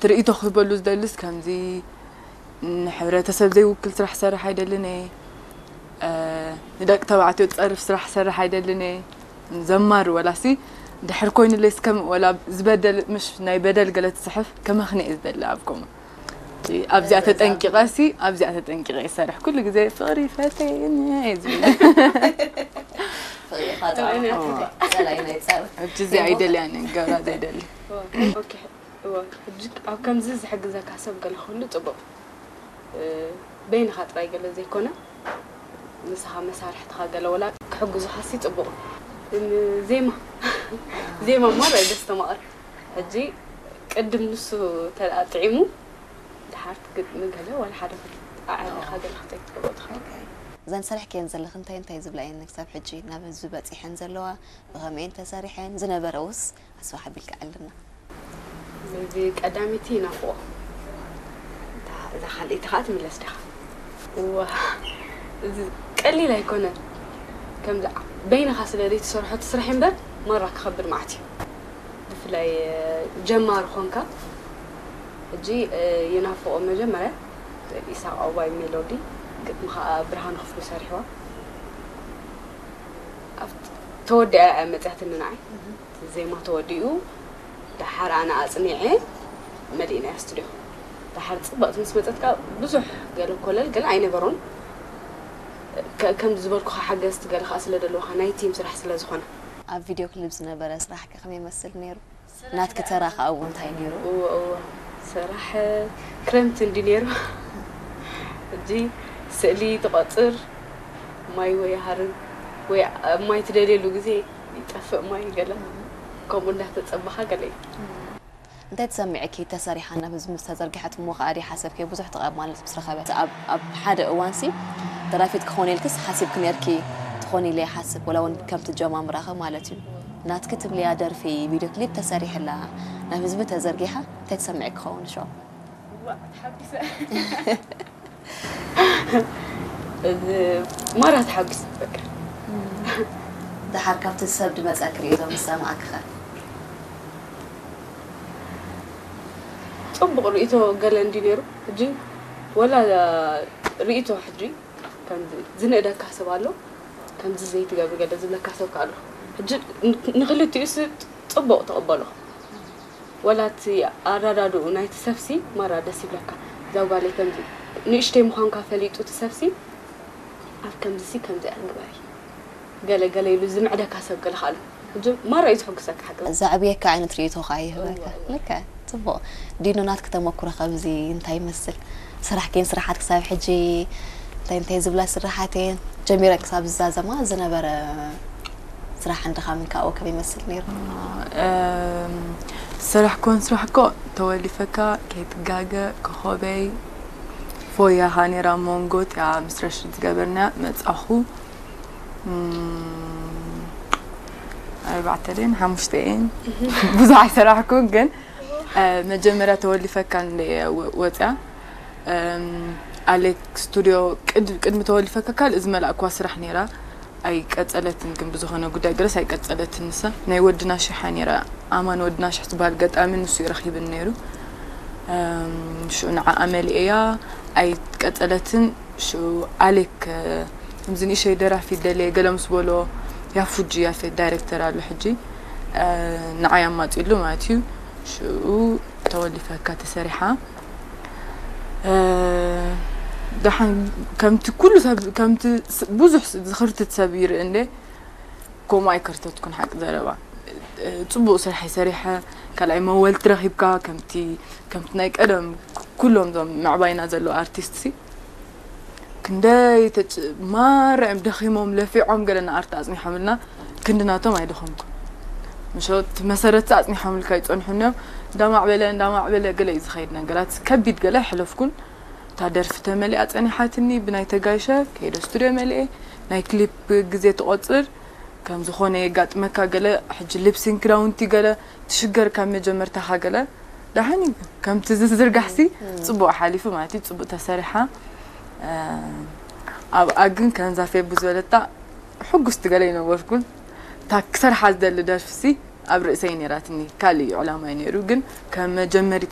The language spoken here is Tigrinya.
ትርኢቶ ክህበሉ ዝደልስ ከምዚ ንሕብረተሰብ ዘይውክል ስራሕ ሰርሕ ኣይደልን እየ። ንደቂ ተባዕትዮ ዝፀርፍ ስራሕ ሰርሕ ኣይደልን እየ። ዘማሪ ወላሲ ድሕር ኮይኑለይ እስከም ወላ ዝበደል ምሽ ናይ በደል ገለ ትፅሕፍ ከመኽንየ ዝደሊ ኣብ ኮመ ኣብዚኣ ተጠንቂቐ ሲ ኣብዚኣ ተጠንቂቐ ይሰርሕ ኩሉ ግዜ ፍቕሪ ፈተየኒ እየ ዝብል። ፍቕሪ ኻጥራ ጸላይ ናይ ጸር ሕጂ እዚኣ ኣይደልያን እየ ገብራ ዘይደሊ። እወ ሕጂ ኣብ ከምዚ ዝሕግዘካ ሰብ ገለ ክህሉ ጽቡቕ። በይንኻ ጥራይ ገለ ዘይኮነ ንስኻ መሳርሕትኻ ገለ ወላ ክሕግዙኻሲ ጽቡቕ። ዜማ ዜማ እሞ ራይ ደስተማቕር ሕጂ ቅድም ንሱ ተደኣ ጥዒሙ ድሓር ግጥሚ ገለ ዋላ ሓደ ኣዕሪኻ ገለ ክትገብሮ ትኽእል። እዘን ሰሪሕክየን ዘለኺ እንታይ እንታይ ዝብላ እየን ክሳብ ሕጂ ናብ ህዝቢ በፂሐን ዘለዋ? ብኸመይ እየን ተሰሪሐን? ዝነበረ ውስ ኣስፋሕ ኣቢልካ ኣልና። እዚ ቀዳመይቲ ይናፍቆ እዛ ካልኣይቲ ከዓ ትምለስ ዲኻ? እዋ እዚ ቀሊል ኣይኮነን። ከምዚ በይንኻ ስለ ዘይትሰርሖ ትስራሕ እምበር ማራ ክኸብድ መዓት እዩ። ብፍላይ ጀማሪ ኾንካ ሕጂ ይናፍቆ መጀመርያ ኢሳቅ ኣባይ ሜሎዲ ግጥሚ ከዓ ብርሃኑ ክፍሉ ሰሪሕዋ። ተወዲኣ እያ መፅያትኒ ንዓይ ዜማ ተወዲኡ ደሓር ኣነ ኣፅኒዐ መሊእናያ ስቱድዮ ደሓር ፅብቕቲ ምስ መፀት ከዓ ብዙሕ ገለ ኮለል ገለ ኣይነበሮን። ከምዚ ዝበልኩኻ ሓገዝቲ ገለ ከዓ ስለ ዘለውኻ ናይ ቲም ስራሕ ስለ ዝኾነ ኣብ ቪድዮ ክሊፕ ዝነበረ ስራሕ ከ ከመይ ይመስል ነይሩ? ናትኪ ተራ ከኣ እውን እንታይ ነይሩ? እወ እወ ስራሕ ክረምቲ እንዲ ነይሩ። ሕጂ ስእሊ ትቆፅር ማይ ወይ ሃርብ ወይ ኣብ ማይ ትደልየሉ ግዜ ይጠፍእ ማይ ገለ ከምኡ እንዳተፀበኻ ገለ እዩ። እንታይ ተሰሚዕኪ ተሰሪሓ ናብ ህዝቢ ምስ ተዘርግሐት እሞ ከኣ ድየ ሓሰብኪ ብዙሕ ተቐባልነት ምስ ረኸበት? ኣብ ኣብ ሓደ እዋንሲ ደራፊት ክኾን ኢልክስ ሓሲብኪ ነርኪ ትኾኒ ኢለ ይሓስብ ወላ እውን ከም ትጀማምራኸ ማለት እዩ። ናትኪ ትብልያ ደርፊ ቪድዮ ክሊፕ ተሰሪሕላ ናብ ህዝቢ ተዘርጊሓ እንታይ ተሰሚዕኪ ክኸውን ሸው? ዋእ ተሓቢሰ እዚ ማራ ተሓቢሰ በቃ ደሓር ካብቲ ሰብ ድመፀኪ ርእይቶ ምስ ሰማዕኪ ኸ? ፅቡቕ ርእይቶ ገለ እንዲ ነይሩ ሕጂ ወላ ርእይቶ ሕጂ ከምዚ ዝንእደካ ሰብ ኣሎ ከምዚ ዘይትገብሪ ገለ ዝብለካ ሰብ ከ ኣሎ ሕጂ ንክልቲኡ ስ ፅቡቕ ተቐበሎ ወላ እቲ ኣረዳድኡ ናይቲ ሰብሲ ማራ ደስ ይብለካ እዛ ጓለይ ከምዚ ንእሽተይ ምዃንካ ፈሊጡ እቲ ሰብሲ ኣብ ከምዚ ሲ ከምዚ ኣንግበሪ ገለ ገለ ኢሉ ዝምዕደካ ሰብ ገለ ከኣሉ ሕጂ ማራ እዩ ዝሕጉሰካ ሓቂ ዘዕብየካ ዓይነት ርእይቶ ከዓ ይህበካ ልከ ፅቡቕ ዲኑ ናትክ ተመኩሮ ከብዚ እንታይ ይመስል ስራሕክን ስራሓት ክሳብ ሕጂ እንታይ እንታይ ዝብላ ስራሓት እየን ጀሚረን ክሳብ ዝዛዘማ ዝነበረ ስራሕን ድኻምን ካብኡ ከመይ ይመስል ነይሩ? ዝሰራሕክወን ስራሕ እኮ ተወሊፈካ ከይትጋገ ኮኾበይ ፎያኻ ነይራ ሞንጎ እቲኣ ምስ ረሽድ ዝገበርናያ መፃኹ ኣርባዕተ ደን ሓሙሽተ እየን ብዙሕ ኣይሰራሕኩን ግን መጀመርያ ተወሊፈካ ወፅያ ኣሌክ ስቱድዮ ቅድሚ ተወሊፈካ ካልእ ዝመላእክዋ ስራሕ ነይራ ኣይቀፀለትን ግን ብዝኾነ ጉዳይ ገለስ ኣይቀፀለትን ንሳ ናይ ወድና ሽሓ ነይራ ኣማን ወድና ሽሕ ዝበሃል ገጣሚ ንሱ እዩ ረኺብን ነይሩ ሽኡ ንዓኣ መሊኤያ ኣይቀፀለትን ሽኡ ኣሌክ ከምዚ ንእሸይ ደራፊ ደልየ ገለ ምስ በሎ ያፉጂ ያፌት ዳይሬክተር ኣሎ ሕጂ ንዓይ ኣማፂሉ ማለት እዩ ሽኡ ተወሊፈካ ተሰሪሓ ደሓን ከምቲ ኩሉ ሰብ ከምቲ ብዙሕ ዝኽርትት ሰብ ይርኢ እንደ ከምኡ ኣይከርተትኩን ሓቂ ዘረባ ፅቡቅ ስራሕ ይሰሪሐ ካልኣይ መወልቲ ረኪብካ ከምቲ ከምቲ ናይ ቀደም ኩሎም ዞም ምዕባይና ዘለዉ ኣርቲስት ሲ ክንደይ ማራ እዮም ደኺሞም ለፊዖም ገለ ንኣርቲ ኣፅኒሖምልና ክንዲ ናቶም ኣይደኸምኩን ምሸት መሰረት ኣፅኒሖምልካ ይፀንሑን እዮም እንዳማዕበለ እንዳማዕበለ ገለ እዩ ዝኸይድ ነገራት ከቢድ ገለ ኣይሕለፍኩን እታ ደርፊ ተመሊኣ ፀኒሓትኒ ብናይ ተጋይሸ ከይደ ስቱድዮ መሊኤ ናይ ክሊፕ ግዜ ትቆፅር ከም ዝኾነ የጋጥመካ ገለ ሕጂ ሊፕሲንክ ዳውንቲ ገለ ትሽገር ካብ መጀመርታኻ ገለ ደሓን እዩ ከምቲ ዝዝርጋሕሲ ፅቡቅ ሓሊፉ ማለት እዩ ፅቡቅ ተሰሪሓ ኣብኣ ግን ከንዛ ፌቡ ዝበለታ ሕጉስቲ ገለ ይነበርኩን እታ ክሰርሓ ዝደሊ ደርፍሲ ኣብ ርእሰይ ነይራትኒ ካልእ እዩ ዕላማይ ነይሩ ግን ከም መጀመሪት